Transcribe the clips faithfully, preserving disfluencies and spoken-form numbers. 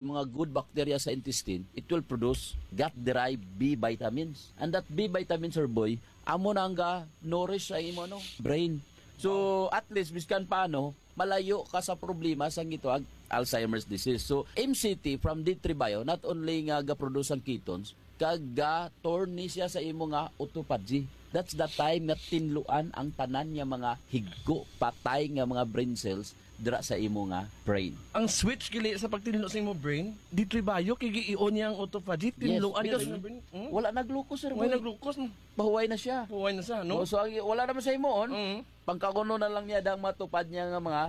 mga good bacteria sa intestine, it will produce gut-derived B vitamins. And that B vitamins, sir boy, amo na ang ga-nourish sa imo, no, brain. So, at least, biskan paano, malayo ka sa problema sa gitawag Alzheimer's disease. So, M C T from D three Bio, not only nga ga-produce ang ketones, kag ga-turn ni siya sa imo nga autophagy. That's the time nga tinluan ang tanan nga mga higko, patay nga mga brain cells dira sa imo nga brain. Ang switch gali sa pagtinlo sa imo brain, D three Bio, kay gi-on niya ang autophagy, Yes, tinluan niya because sa imo brain. Hmm? Wala na glucose, sir Wala boy. na glucose, no? Pahuway na siya. Pahuway na siya, no? Oh, so, ang, wala naman sa imo, on. Mm. Pangkakuno na lang niya dang matupad niya nga mga,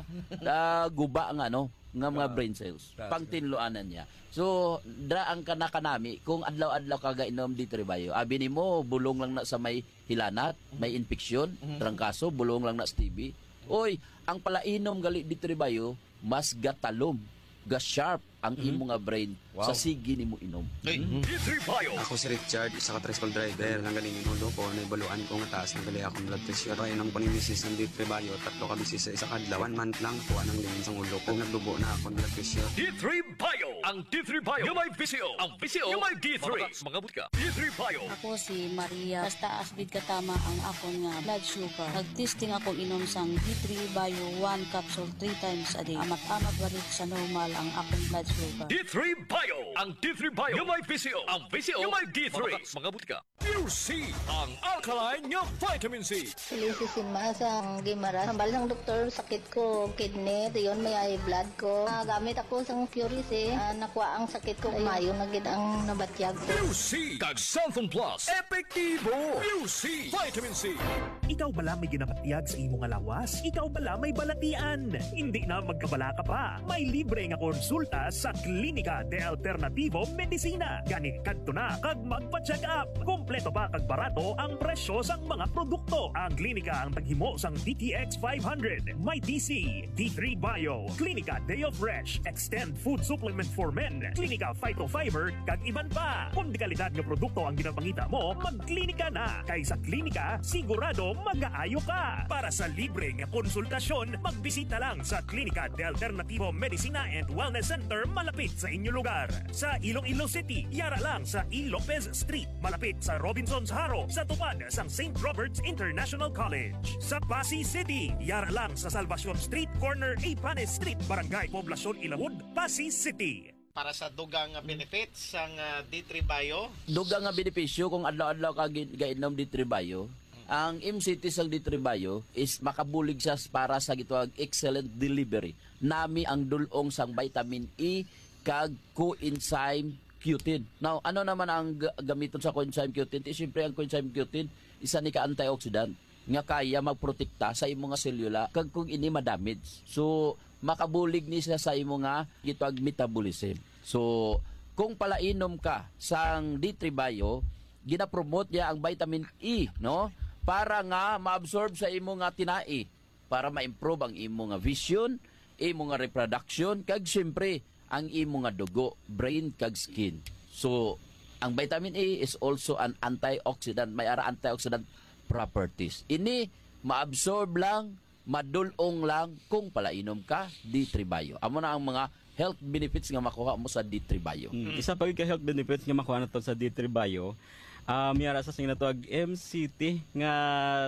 ah, guba nga, no, nga mga Oo. brain cells. That's Pangtinluanan niya. So, dra ang kanakanami, kung adlaw-adlaw ka gainom D three Bio, abi nimo, bulong lang na sa may hilanat, Mhm. may infeksyon, Mhm. trangkaso, bulong lang na sa T B. Oy, ang palainom gali D three Bio, mas gatalom, ga-sharp ang Mhm. imo nga brain Wow. sa sige nimo inom. Hey. Mhm. D three Bio. Ako si Richard, isa ka tricycle driver. Ang galing yung ulo ko, naibaluan ko nga taas na gali akong blood pressure. Kaya nang panimisis ng D three Bio, tatlo ka bisis sa isa ka adlaw. One month lang, kuha ng linis ang ulo ko. Nagdugo na akong blood pressure. D three Bio. Ang D three Bio. Yung may V C O. Ang V C O. Yung may D three. Mga, mga butika. D three Bio. Ako si Maria. Basta asbid katama ang akon nga blood sugar. Nag-testing ako inom sang D three Bio one capsule three times a day. Amat-amat balik sa normal ang akon blood sugar. D three Bio. Ang D three Bio. Yung may V C O. Ang V C O. Yung may D three. Mga, mga butika. Pure C, ang alkaline nga vitamin C. Lecithin masa ang gimara. Hambal sang doktor, sakit ko kidney, dayon may high blood ko. Ah, gamit ako sang Pure C. Ah, nakuha ang sakit ko. Ayun. Mayo na gid ang nabatyag ko. Pure C kag Xanthone Plus. Epektibo. Pure C. Vitamin C. Ikaw bala may ginabatyag sa imo nga lawas? Ikaw bala may balatian? Hindi na magkabalaka pa. May libre nga konsulta sa Klinika de Alternativo Medicina. Gani kadto na kag magpa-check up. Kompleto pa kag barato ang presyo sang mga produkto. Ang klinika ang taghimo sang D T X five hundred, may D C, D three Bio, Klinika Deo Fresh, Extend Food Supplement for Men, Klinika Phytofiber, kag iban pa. Kung dekalidad nga produkto ang ginapangita mo, magklinika na. Kay sa klinika, sigurado magaayo ka. Para sa libre nga konsultasyon, magbisita lang sa Klinika de Alternativo Medicina and Wellness Center malapit sa inyo lugar. Sa Iloilo City, yara lang sa E. Lopez Street, malapit sa Robinsons Jaro, sa tupad sang Saint Robert's International College. Sa Passi City, yara lang sa Salvacion Street, corner Ipanes Street, Barangay Poblacion Ilawod, Passi City. Para sa dugang nga benefits sang, ah, D three Bio. Dugang nga benepisyo kung adlaw-adlaw ka gi-, gainom D three Bio. Ang M C T sang D three Bio is makabulig siya para sa gitawag excellent delivery. Nami ang dulong sang vitamin E kag coenzyme Q ten. Now, ano naman ang ga-, gamiton sa coenzyme Q ten? Ti, siyempre, ang coenzyme Q ten, isa ni ka antioxidant nga kaya magprotekta sa imo nga selula kag kung ini ma-damage. So, makabulig ni siya sa imo nga gitawag metabolism. So, kung palainom ka sang D three Bio, ginapromote niya ang vitamin E, no? Para nga ma-absorb sa imo nga tinai, para ma-improve ang imo nga vision, imo nga reproduction, kag siyempre, ang imo nga dugo, brain, kag skin. So, ang vitamin E is also an antioxidant. May ara antioxidant properties. Ini, maabsorb lang, madulong lang kung palainom ka, D three Bio. Amo na ang mga health benefits nga makuha mo sa D three Bio. Mm, isa pa gid ka health benefits nga makuha nato sa D three Bio, ah, may ara sa sing natawag M C T nga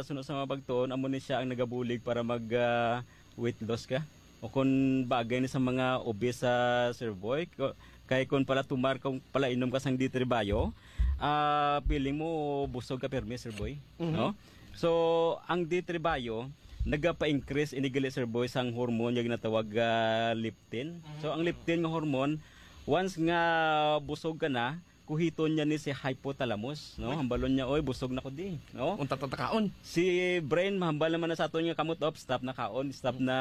suno sa mga pagtuon, amo ni siya ang nagabulig para mag, ah, weight loss ka. O kung bagay ni sa mga obese, ah, Sir Boy, ko-, kay kung pala tumar, kung pala inom ka sang D three Bio, ah, feeling mo busog ka pirmi, Sir Boy, Mhm. no? So, ang D three Bio, nagapa-increase ini gali, Sir Boy, sang hormone nga ginatawag, ah, leptin. So, ang Mhm. leptin nga hormone, once nga busog ka na, kuhiton niya ni si hypothalamus, no? Uy. Hambalon niya, "Oy, busog na ko di," no? Unta ta kaon. Si brain, mahambal naman na sa aton nga kamot, "Op, stop na kaon, stop na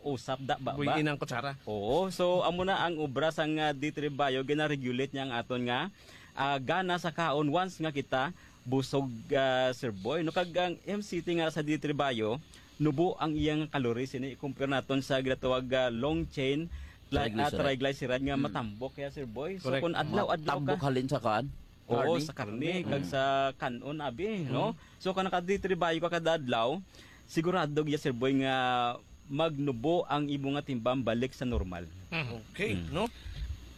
usap, da, ba, ba." Buhiin ang kutsara. Oo, so, amo na ang obra sang, ah, D three Bio, gina-regulate niya ang aton nga, ah, gana sa kaon once nga kita busog, ah, Sir Boy, no? Kag ang M C T nga sa D three Bio, nubo ang iyang calories ini i-compare naton sa ginatawag, ah, long chain, ah, Triglyceride. triglyceride nga Hmm. matambok kaya, Sir Boy. So, Correct. kung adlaw-adlaw Matambok ka halin sa kan? Oo, Karne? sa karne, Karne. kag Hmm. sa kanon, abi, no? Hmm. So, kung naka-D three Bio ka kada adlaw, sigurado gid, Sir Boy, nga magnubo ang imo nga timbang balik sa normal. Hmm. Okay, Hmm. no?